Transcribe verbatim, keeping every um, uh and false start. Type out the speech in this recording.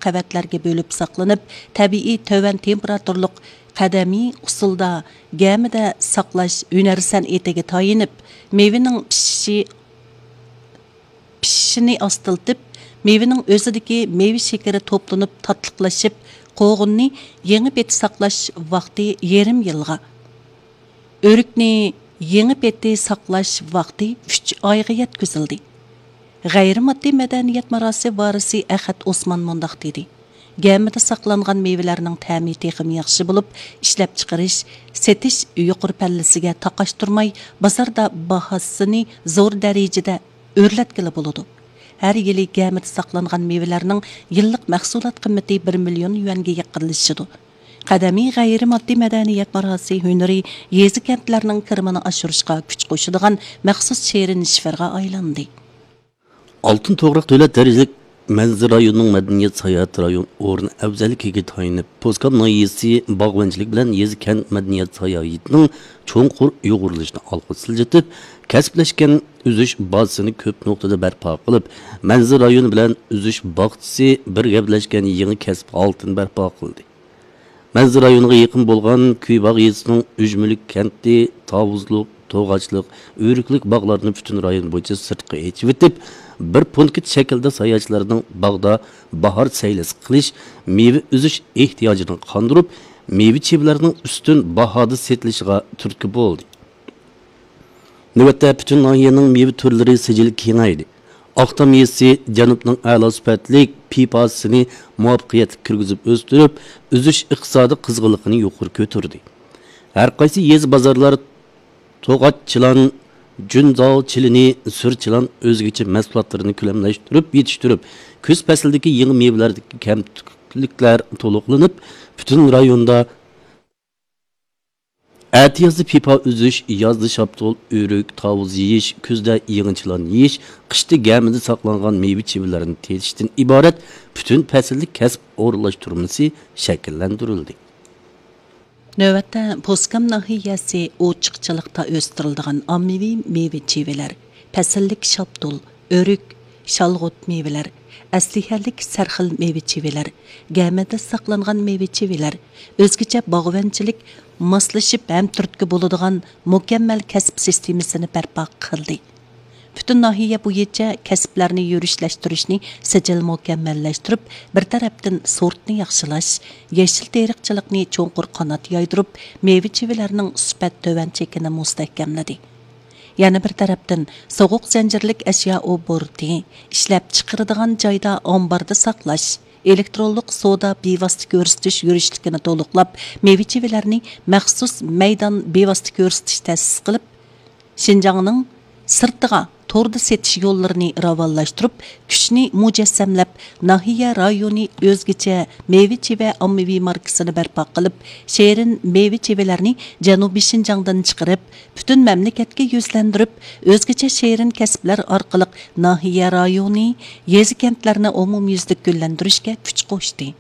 قەۋەتلەرگە بۆلۈپ ساقلىنىپ، تەبىئىي تۆۋەن تېمپېراتۇرلۇق قەدىمىي ئۇسۇلدا گەمىدە ساقلاش ھۈنەر سەنئىتىگە تايىنىپ، مېۋىنىڭ پىشىشى، پىشىشىنى ئاستىلىتىپ، مېۋىنىڭ ئۆزىدىكى مېۋە شېكىرى توپلىنىپ تاتلىقلىشىپ، قوغۇننى يېڭى پېتى ساقلاش ۋاقتى يېرىم يىلغا، ئۆرۈكنى يېڭى پېتى ساقلاش ۋاقتى ئۈچ ئايغا يەتكۈزۈلدى. غەيرىي ماددىي مەدەنىيەت مىراسى ۋارىسى ئەخەت ئوسمان مۇنداق دېدى: گەمىدە ساقلانغان مېۋىلەرنىڭ تەمى تېخىمۇ ياخشى بولۇپ، ئىشلەپچىقىرىش، سېتىش يۇقىرى پەللىسىگە تاقاشتۇرماي، بازاردا باھاسىنى زور دەرىجىدە ئۆرلەتكىلى بولىدۇ. ھەر يىلى گەمىدە ساقلانغان مېۋىلەرنىڭ يىللىق مەھسۇلات قىممىتى بىر مىليون يۈەنگە يېقىنلىشىدۇ. قەدىمىي غەيرىي ماددىي مەدەنىيەت مىراسى ھۈنىرى يېزا، كەنتلەرنىڭ كىرىمىنى ئاشۇرۇشقا كۈچ قوشىدىغان مەخسۇس شېرىن شىفىرغا ئايلاندى. ئالتۇن توغراق دۆلەت دەرىجىلىك مەنزىرە رايونىنىڭ مەدەنىيەت ساياھەت رايون ئورنى ئەۋزەللىكىگە تايىنىپ، پوسكام ناھىيەسى باغۋەنچىلىك بىلەن يېزا، كەنت مەدەنىيەت ساياھىتىنىڭ چوڭقۇر ئۇيغۇرلىشىشىنى ئالغا سىلجىتىپ، كەسىپلەشكەن ئۈزۈش بازىسىنى كۆپ نۇقتىدا بەرپا قىلىپ، مەنزىرە رايونى بىلەن ئۈزۈش باغچىسى بىر گەۋدىلەشكەن يېڭى كەسىپ ھالىتىنى بەرپا قىلدى. مەنزىرە رايونىغا يېقىن بولغان كۈيباغ يېزىسىنىڭ ئۈجمىلىك كەنتى، تاۋۇزلۇق، توغاچلىق، ئۆرۈكلۈك باغلارنى پۈتۈن رايون بويىچە سىرتقا ئېچىۋېتىپ، بىر پونكىت شەكلىدە ساياھەتچىلەرنىڭ باغدا باھار سەيلىسى قىلىش، مېۋە ئۈزۈش ئېھتىياجىنى قاندۇرۇپ، مېۋە چىۋىلەرنىڭ ئۈستۈن باھادا سېتىلىشىغا تۈرتكە بولدى. نۆۋەتتە پۈتۈن ناھىيەنىڭ مېۋە تۈرلىرى سىجىلى كېڭەيدى. ئاقتام يېزىسى جەنۇبنىڭ ئەلا سۈپەتلىك پىپاسىنى مۇۋەپپەقىيەتلىك كىرگۈزۈپ ئۆستۈرۈپ، ئۈزۈش ئىقتىسادى قىزغىنلىقىنى يۇقىرى كۆتۈردى. ھەر قايسى يېزا، بازارلار توغاچ چىلان، جۈنزاۋ چىلىنى، سۈر چىلان ئۆزگىچە مەھسۇلاتلىرىنى كۆلەملەشتۈرۈپ يېتىشتۈرۈپ، كۈز پەسلىدىكى يېڭى مېۋىلەردىكى كەمتۈكلۈكلەر تولۇقلىنىپ، پۈتۈن رايوندا ئەتىيازدا پىپا ئۈزۈش، يازدا شاپتۇل، ئۆرۈك، تاۋۇز يېيىش، كۈزدە يېڭى چىلان يېيىش، قىشتا گەمىدە ساقلانغان مېۋە چىۋىلەرنى تېتىشتىن ئىبارەت پۈتۈن پەسىللىك كەسىپ ئورۇنلاشتۇرمىسى شەكىللەندۈرۈلدى. نۆۋەتتە پوسكام ناھىيەسى ئوچۇقچىلىقتا ئۆستۈرۈلىدىغان ئاممىۋى مېۋە چىۋىلەر، پەسىللىك شاپتۇل، ئۆرۈك، شالغۇت مېۋىلەر، ئەسلىھەلىك سەرخىل مېۋە چىۋىلەر، گەمىدە ساقلانغان مېۋە چىۋىلەر، ئۆزگىچە باغۋەنچىلىك ماسلىشىپ ھەم تۈرتكە بولىدىغان مۇكەممەل كەسىپ سىستېمىسىنى بەرپا قىلدى. پۈتۈن ناھىيە بويىچە كەسىپلەرنى يۈرۈشلەشتۈرۈشنى سىجىل مۇكەممەللەشتۈرۈپ، بىر تەرەپتىن سورتنى ياخشىلاش، يېشىل تېرىقچىلىقنى چوڭقۇر قانات يايدۇرۇپ، مېۋە چىۋىلەرنىڭ سۈپەت تۆۋەن چېكىنى مۇستەھكەملىدى. يەنە بىر تەرەپتىن، سوغۇق زەنجىرلىك ئەشيا ئوبوروتى، ئىشلەپچىقىرىدىغان جايدا ئامباردا ساقلاش، ئېلېكترونلۇق سودا بىۋاسىتە كۆرسىتىش يۈرۈشلۈكىنى تولۇقلاپ، مېۋە چىۋىلەرنى مەخسۇس مەيدان بىۋاسىتە كۆرسىتىش تەسىس قىلىپ، شىنجاڭنىڭ سىرتىغا توردا سېتىش يوللىرىنى راۋانلاشتۇرۇپ، كۈچنى مۇجەسسەملەپ، ناھىيە رايونى ئۆزگىچە مېۋە چىۋە ئاممىۋى ماركىسىنى بەرپا قىلىپ، شېرىن مېۋە چىۋىلەرنى جەنۇبىي شىنجاڭدىن چىقىرىپ، پۈتۈن مەملىكەتكە يۈزلەندۈرۈپ، ئۆزگىچە شېرىن كەسىپلەر ئارقىلىق ناھىيە رايونى، يېزا، كەنتلەرنى ئومۇميۈزلۈك گۈللەندۈرۈشكە كۈچ قوشتى.